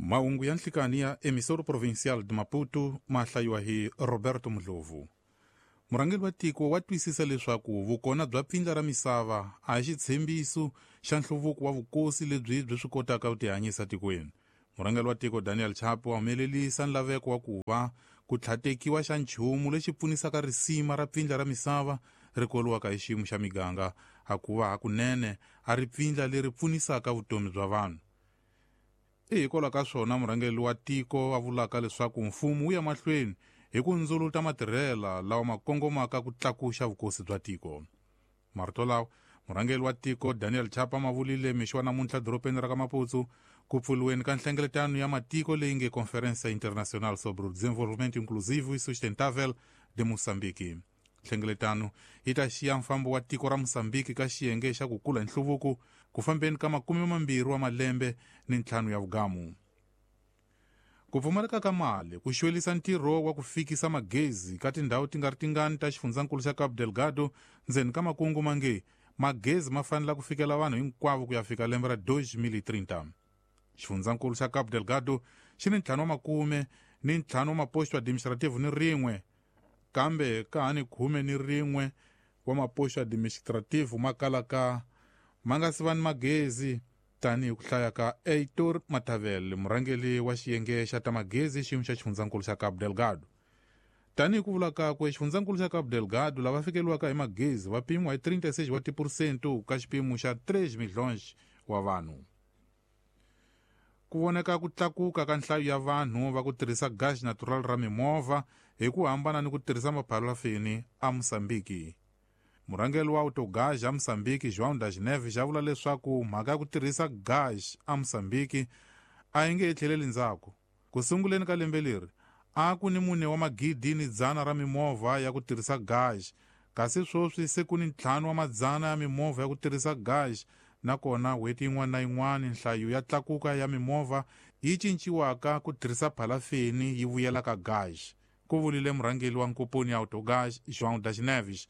Mahungu ya nhlikani ya Emissora Provincial de Maputo ma hlayiwa hi Roberto Mdlovu. Murhangeri wa tiko wa twisisa leswaku vukona bya pfindla ra misava a hi xitshembiso xa nhluvuko wa vukosi lebyi byi swi kotaka ku tihanyisa tikweni. Murhangeri wa tiko Daniel Chapo wa humelelisa nlaveko wa ku va ku tlhatekiwa xa nchumu lexi pfunisaka risima ra pfindla ra misava ri koliwaka hi xiyimo xa miganga hakuva hakunene a ri pfindla leri pfunisaka vutomi bya vanhu. I hikwalaho ka swona murhangeri wa tiko a vulaka leswaku mfumo wu ya mahlweni hi ku ndzuluta matirhela lawa ma kongomaka ku tlakuxa vukosi bya tiko. Marito lawa murhangeri wa tiko Daniel Chapa ma vulile mixo wa namuntlha dorobeni ra ka Maputo ku pfuriweni ka nhlengeletano ya matiko leyi nge Conferência Internacional sobre o Desenvolvimento Inclusivo e Sustentável de Moçambique. Nhlengeletano yi ta xiya mfambo wa tiko ra Mosambiki ka xiyenge xa ku kula hi nhluvuko ku fambeni ka 25 wa malembe ni ntlhanu ya vugamu. Ku pfumaleka ka mali ku xwelisa ntirho wa ku fikisa magezi ka tindhawu ti nga ri tingani ta xifundzankulu xa Cabo Delgado ndzeni ka makungu mange magezi ma fanela ku fikela vanhu hinkwavo ku ya fika lembe ra 2030. Xifundzankulu xa Cabo Delgado xi ni 55 wa maposto administrativo ni rin'we, kambe ka ha ni 11 wa maposto administrativo ma kalaka ma nga si va ni magezi, tanihi ku hlaya ka Heitor Matavel, murhangeri wa xiyenge xa ta magezi xiyimo xa xifundzankulu xa Cabo Delgado. Tanihi ku vula kakwe, xifundzankulu xa Cabo Delgado lava fikeriwaka hi magezi va pimiwa hi 36 wa tiphurosente ka xipimo xa 3 milhões wa vanhu. Ku voneka ku tlakuka ka nhlayo ya vanhu va ku tirhisa gas natural ra mimovha hi ku hambana ni ku tirhisa mapharafini a Mosambiki. Murhangeri wa Autogás a Mosambiki João das Neves a vula leswaku mhaka ya ku tirhisa gas a Mosambiki a yi nge tlheleli ndzhaku. Ku sunguleni ka lembe leri a ku ni 4 wa magidi ni 100 ra mimovha ya ku tirhisa gas, kasi sweswi se ku ni 5 wa madzana ya mimovha ya ku tirhisa gas, nakona n'hweti yin'wana na yin'wana nhlayo ya tlakuka ya mimovha yi cinciwaka ku tirhisa phalafeni yi vuyela ka gas, ku vulile murhangeri wa nkomponi ya Autogás João das Neves.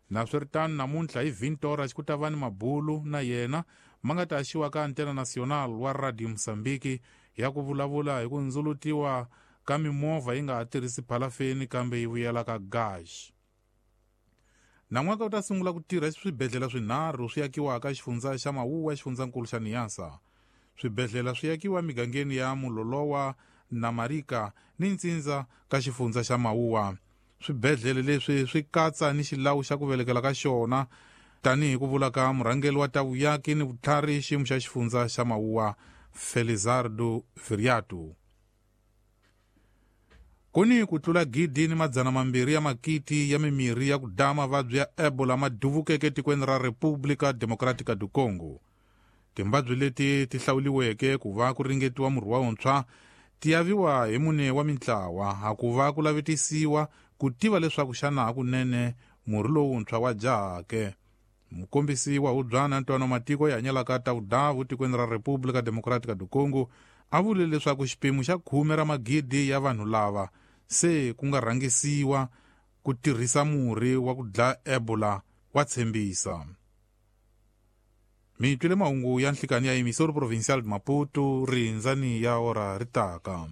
Naswiritano namuntlha hi 20 horas ku ta va ni mabulu na yena ma nga ta haxiwa ka Antena Nacional wa Radio Mosambiki ya ku vulavula hi ku ndzulutiwa ka mimovha yi nga ha tirhisi phalafeni kambe yi vuyela ka gas. Nan'waka u ta sungula ku tirha swibedhlele swinharhu swi akiwaka xifundza xa Mawuwa xifundzankulu xa Niassa. Swibedhlele swi akiwa migangeni ya Mulolowa na Marika ni Ntsindza ka xifundza xa Mawuwa. Swibedhlele leswi swi katsa ni xilawu xa ku velekela ka xona, tanihi ku vula ka murhangeri wa ta vuyaki ni vutlhari xiyimo xa xifundza xa Mawuwa Felizardo Viriato. Ku ni ku tlula 1200 ya makiti ya mimirhi ya ku dlaya mavabyi ya Ebola ma duvukeke etikweni ra República Democrática do Congo. Timbabyi leti ti hlawuliweke ku va ku ringetiwa murhi wa wuntshwa ti aviwa hi mune wa mintlawa hakuva ku lavetisiwa ku tiva leswaku xana hakunene murhi lowuntshwa wa jahake. Mukombisi wa hubyana ntwano matiko ya hanyelaka ta vudavu tikweni ra República Democrática do Congo a vule leswaku xipimo xa 10 ra magidi ya vanhu lava se ku nga rhangisiwa ku tirhisa murhi wa ku dlaya Ebola wa tshembisa. Mi twile mahungu ya nhlikani ya Emissora Provincial de Maputo, rindzani ya ora ri taka.